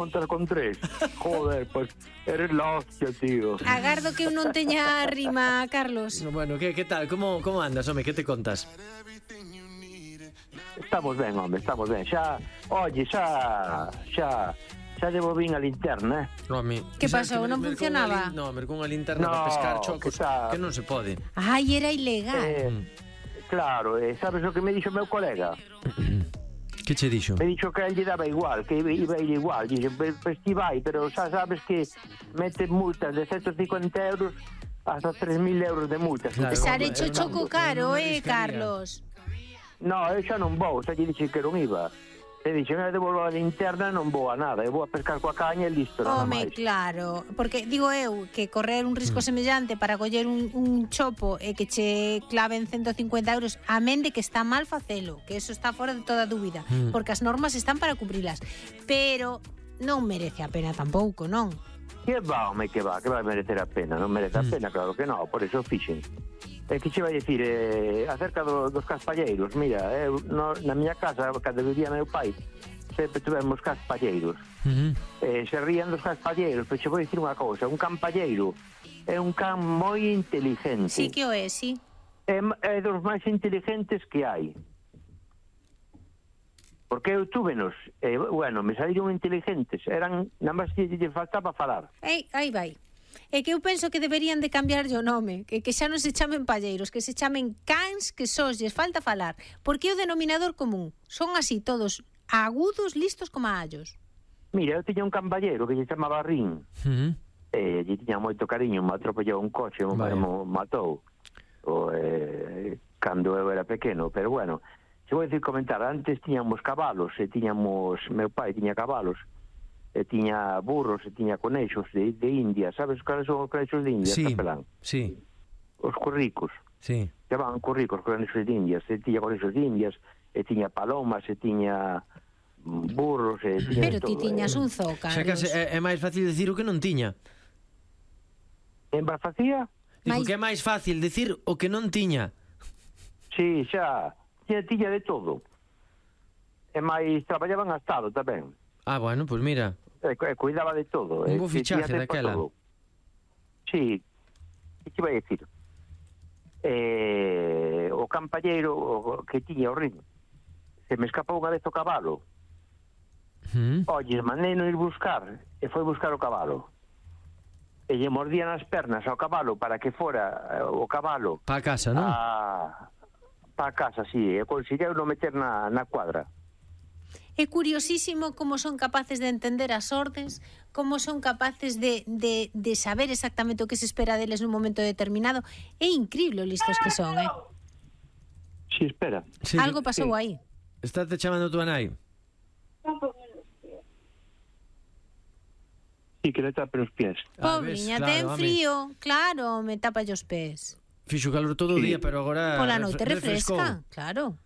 contar con 3. Joder, pues eres la hostia, tío. Agardo que eu non teña rima, Carlos. Bueno, que tal? Como andas, home? Que te contas? Estamos ben, home, estamos ben. Xa debo vir a linterna, Home, Que pasou? Non funcionaba? Non, con a linterna para pescar chocos, que non se pode. Ai, era ilegal. Claro, sabes o que me dixo o meu colega? Que che dixo? Me dixo que a él lle daba igual, que iba a ir igual. Dixe, pues ti vai, pero xa sabes que mete multas de 150 euros hasta 3.000 euros de multas. Claro, Xa hecho choco caro, arriscaría. Carlos? No, eu xa non vou, xa lle dixen que non iba. E dixen, eu devolvo a linterna, non vou a nada, eu vou a pescar coa caña e listo, nada Home, máis. claro, porque digo eu que correr un risco semellante para coller un chopo e que che claven 150 euros, amén de que está mal facelo, que eso está fora de toda dúbida, porque as normas están para cubrilas, pero non merece a pena tampouco, non? Que va, home, que vai merecer a pena, non merece a pena, claro que non, por eso fixen. E que che vai dicir, acerca dos caspalleiros, mira, na miña casa, cando vivía meu pai, sempre tivemos caspalleiros. Se rían dos caspalleiros, pero che vou dicir unha cousa, un campalleiro é un can moi inteligente. Sí que o é, sí. É dos máis inteligentes que hai. Porque eu túvenos, bueno, me saíron inteligentes, eran, nada máis que lle faltaba falar. Aí vai. É que eu penso que deberían de cambiarlle o nome, que xa non se chamen palleiros, que se chamen cans que sós lles falta falar, porque é o denominador común. Son así todos agudos, listos como allos. Mira, eu tiña un camballero que se chamaba Rin. Lle tiña moito cariño, me atropellou un coche, me matou. Cando eu era pequeno, pero bueno, se vou dicir comentar, antes tiñamos cabalos, meu pai tiña cabalos, e tiña burros, e tiña conexos de India. Sabes cales son os conexos de India? Sí, Capelán? sí. Os curricos. Sí. Chamaban curricos, conexos de Indias. E tiña conexos de Indias, e tiña palomas, e tiña burros, e tiña Pero ti todo, tiñas un zoo, Xa Carlos. case é máis fácil decir o que non tiña. En Barfacía? Digo que é máis fácil decir o que non tiña. Sí, xa. Tiña de todo. E máis traballaban a Estado tamén. Ah, bueno, pues mira. Cuidaba de todo. Un bo fichaje daquela. Sí. Que te vai a dicir? O campalleiro que tiña o ritmo se me escapou unha vez o cabalo. Oye, mandei non ir buscar, e foi buscar o cabalo. E lle mordían as pernas ao cabalo para que fora o cabalo Pa casa, non? Pa casa, sí. E conseguiu non meter na cuadra. É curiosísimo como son capaces de entender as ordes, como son capaces de saber exactamente o que se espera deles nun momento determinado. É incríble o listos que son, Sí, espera. Sí, Algo pasou aí. Estate chamando a tua nai. Sí, que le tapen os pies. Pobriña, ves, ten claro, frío. Claro, me tapa os pés. Fixo calor todo o día, pero agora Pola noite refrescou. refresca, claro.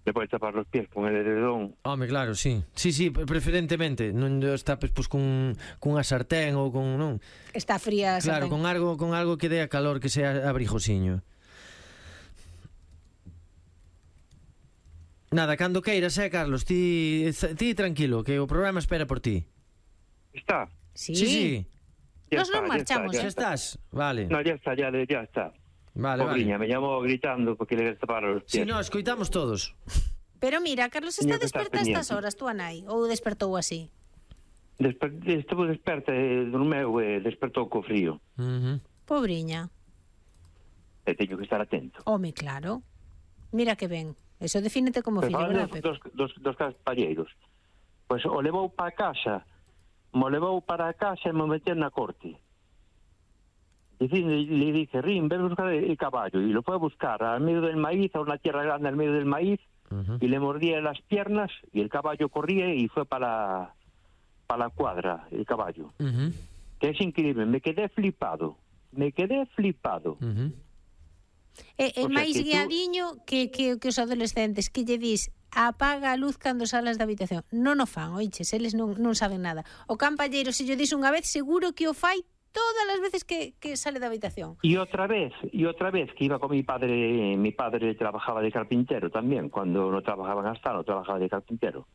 Le podes tapar os pies con el edredón. Home, claro, sí. Sí, preferentemente. Non os tapes pois cunha sartén ou con, non? Está fría. Claro, con algo que dé a calor, que sea abrigosiño. Nada, cando queiras, Carlos, ti tranquilo, que o programa espera por ti. Está. Sí. Ya Nos está, non marchamos. Xa estás? Vale. No, ya está. Vale. Pobriña, me llamó gritando porque le taparon los pies. Si, no, escoitamos todos. Pero mira, Carlos está Tiña que estar desperta a estas pendiente. horas, tú Anai, ou despertou así? Estuvo desperta, dormeu e despertou co frío. Pobriña. E teño que estar atento. Home, claro. Mira que ben. Eso defínete como fillo, Falando verdad, Pepe? dos caspalleiros. Pois o levou para casa, mo levou para casa e me meteu na corte. Le dije, Rin, ven a buscar el caballo. Y lo fue a buscar al medio del maíz, a una tierra grande al medio del maíz, y le mordía las piernas, y el caballo corría y fue para la cuadra, el caballo. Que es increíble, me quedé flipado. É O sea, máis que tú- guiadiño que os adolescentes, que lle dis apaga a luz cando salas da habitación. Non o fan, oiches, eles non saben nada. O campalleiro, se lle dis unha vez, seguro que o fai todas as veces que sale da habitación. Y otra vez que iba con mi padre trabajaba de carpintero también, cuando no trabajaba en Astano, trabajaba de carpintero.